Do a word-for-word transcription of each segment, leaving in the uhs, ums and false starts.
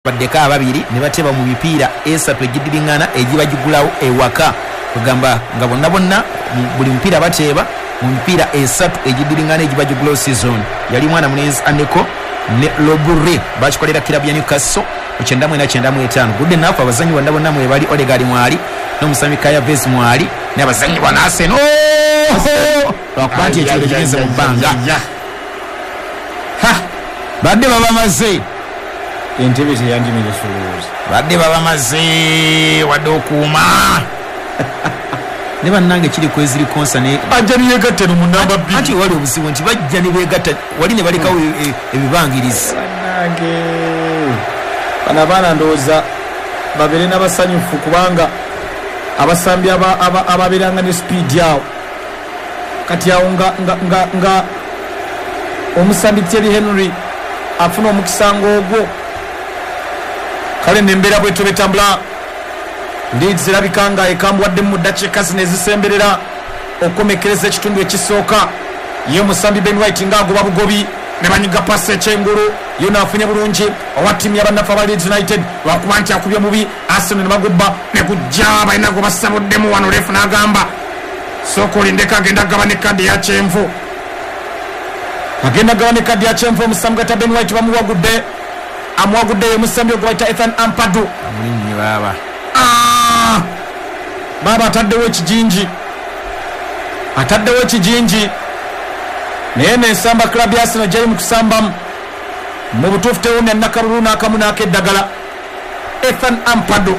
Baddeko ababiri ne bateba mu mipiira esatu egiddiringana egibagigulawo ewaka, kugamba nga bonna bonna buli mupiira bateeba mu mipiira esatu egiddiringana egibagigulawo season. Yali mwana mulenzi Aneko ne Lobure bakikolera kirabu ya Newcastle mu kyenda mu ena kyenda mu etaano. Good enough, abazanyi bonna bonna mwebali, Odegaard mwali n'omusambi Kaya Vez mwali n'abazanyi ba Arsenal lwakuba nti ekiro kigenze mu bbanga badde babamaze entebe teyandimenyesa olowooza badde babamaze wadde okuuma ne bannange kiri kweziri konsa ne bajja ne yeegatta no mu namba bbiri. Anti wali obuzibu nti bajja ne beegatta wali ne balekawo ebibangirizi. Bannange bano abaana ndowooza babeere n'abasanyufu kubanga abasambi ababeeranga ne sipiidi awo kati awo nga, nga, nga, nga omusambi Thierry Henry afuna omukisa ng'ogwo. Kale nembeera bwetyo betambula. Leeds erabika nga ekambuwadde mu ddakiika zino ezisemberera okukomekkereza ekitundu ekisooka. Ye omusambi Ben White ng'agoba bugobi ne banyiga pasi ekyengulu, yo naafunye bulungi owa ttiimu y'abannaffe aba Leeds United lwakuba nti akubye mubi. Arsenal ne bagubba ne gujja balina gwe basabuddemu wano. Refu n'agamba sooka olindeko, agenda gaba ne kadi ya kyenvu, agenda gaba ne kadi ya kyenvu. Omusambi gata Ben White bamuwagudde, amuwagudde ye omusambi ogwe bayita Ethan Ampadu. Amulinnye baaba ah! Baaba ataddewo ekijinji, ataddewo ekijinji naye nensamba club ya Arsenal gyeri mu kusambamu mu butuufu tewomya nakalulu n'akamu n'akeddagala. Ethan Ampadu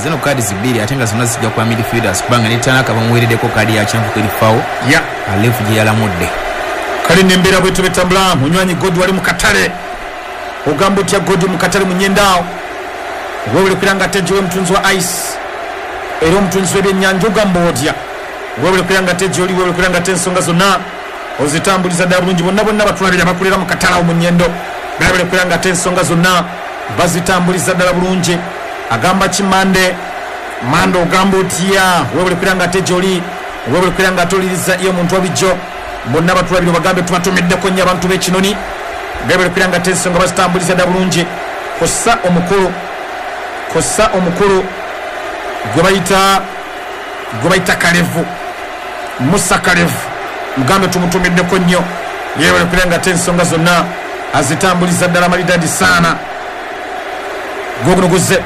zino kadi zibiri ate nga zonna zijja kwa midfielders kubanga ne Tanaka bamuweereddeko kadi ya kyenvu erifawo ya alefu gye yalamudde. Kale nembeera bwetyo betambula. Munywanyi Godi wali mu katale, ogamba otya Godi mu katale munyendaawo wewulekera nga tejiwe omutunzi wa ice era omutunzi w'ebyennyanja, ogamba otya wewulekera nga teji oli wewulekera nga te ensonga zonna ozitambuliza ddala bulungi. Bonna bonna batulabira bakulira mu katale awo mu nyendo bewulekera nga te ensonga zonna bazitambuliza ddala bulungi. Agamba ki Mande, Mande ogamba otya wewulekera nga teji oli wewulekera nga toliriza iyo omuntu wabijjo. Bonna batulabira bagambe tubatumiddeko nnyo abantu b'ekinoni bewulekera nga te ensonga bazitambuliza ddala bulungi. Kossa omukulu, kossa omukulu gwe bayita gwe bayita Kalevu, Musa Kalevu, mugambe tumutumiddeko nnyo yeewulekera nga te ensonga zonna azitambuliza ddala malidadi saana. Goguno guzze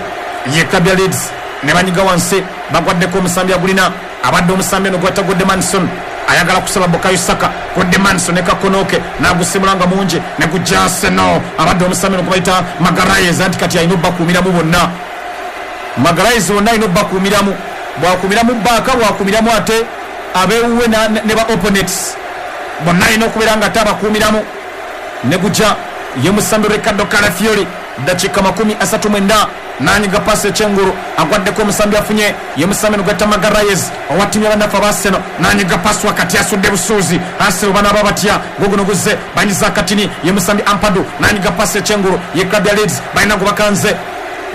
ye club ya Leeds ne banyiga wansi, bagwaddeko omusambi agulina abadde omusambi eno gwata Godmanson ayagala kusaba Bukayo Saka. Godmanson ne kakonoke n'agusimula nga mungi ne gujja Arsenal abadde omusambi eno gwe bayita Magalhaes anti kati alina obbakuumiramu bonna. Magalhaes bonna alina obbakuumiramu, bwakuumiramu baaka bwakuumiramu ate abeewuwe ne ba opponents bonna alina okubeera nga ate abakuumiramu. Ne gujja ye musambi Ricardo Calafiori dakiika makumi asatu mwenda nanyiga pasi ekyengulu agwaddeko omusambi afunye ye musambi nogwetta Magalhaes owa ttiimu y'abannaffe aba Arsenal nanyiga pasi wakati asudde busuuzi. Arsenal banaaba batya guguno guzze banyiza akatini ye musambi Ampadu nanyiga pasi ekyengulu ye club ya Leeds balina gwe bakanze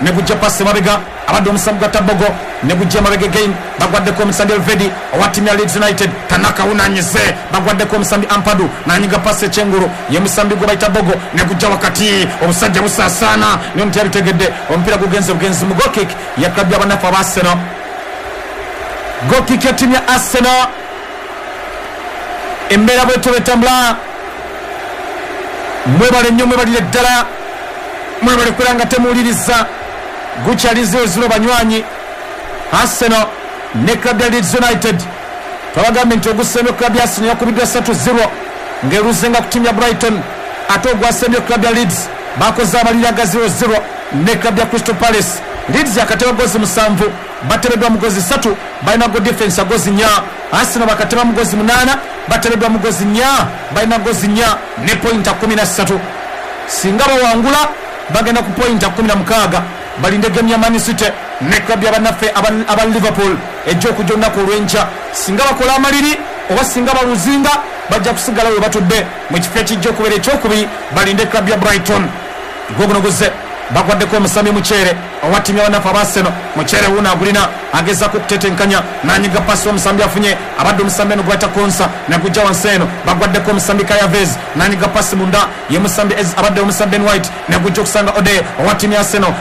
ne gujja pasi mabega abadde omusambi gwa Tabogo ne gujja mabega again bagwaddeko omusambi Elvedi owa ttiimu ya Leeds United. Tanaka unanyize bagwaddeko omusambi Ampadu nanyiga pasi ekyengulu ye musambi gwe bayita Bogo ne gujja wakati obusajja busaasaana niyo nti yabitegedde omupiira gugenze bugenzi mu goal kick ya club y'abannaffe aba Arsenal. Goal kick ya ttiimu ya Arsenal. Embeera bwetyo betambula. Mwebale nnyo, mwebalire ddala, mwebale kubeera nga temuwuliriza. Gukyali zero zero banywanyi. Arsenal ne club ya Leeds United twabagambye nti ogusembye club ya Arsenal yakubiddwa ssatu zero ng'eruzenga ku ttiimu ya Brighton, ate ogwasembye club ya Leeds bakoze amalira ga zero zero ne club ya Crystal Palace. Leeds yakateba gozi musanvu, batebeddwa mu gozi ssatu, balina go defense ya gozi nnya. Arsenal bakateba mu gozi munaana, batebeddwa mu gozi nnya, balina gozi nnya ne pointa kumi na ssatu. Singa bawangula bagenda ku pointa kumi na mukaaga balinde game ya Man City ne club y'abannaffe aba Liverpool ejja okujja olunaku olw'enkya. Singa bakola amaliri oba singa baluzinga bajja kusigala we batudde mu kifo ekijja okubeera ekyokubiri, balinde club ya Brighton. Gwoguno guzze Bagwaddeko omusambi Mukyere owa ttiimu y'abanafu aba Arsenal. Mukyere wuuno agulina agezaako okutetenkanya n'anyiga pasi omusambi afunye abadde omusambi eno gwayita Konsa nagujja wansi eno. Bagwaddeko omusambi Kayavez n'anyiga pasi munda ye musambi abadde omusambi Ben White nagujja okusanga Ode owa ttiimu ya Arsenal.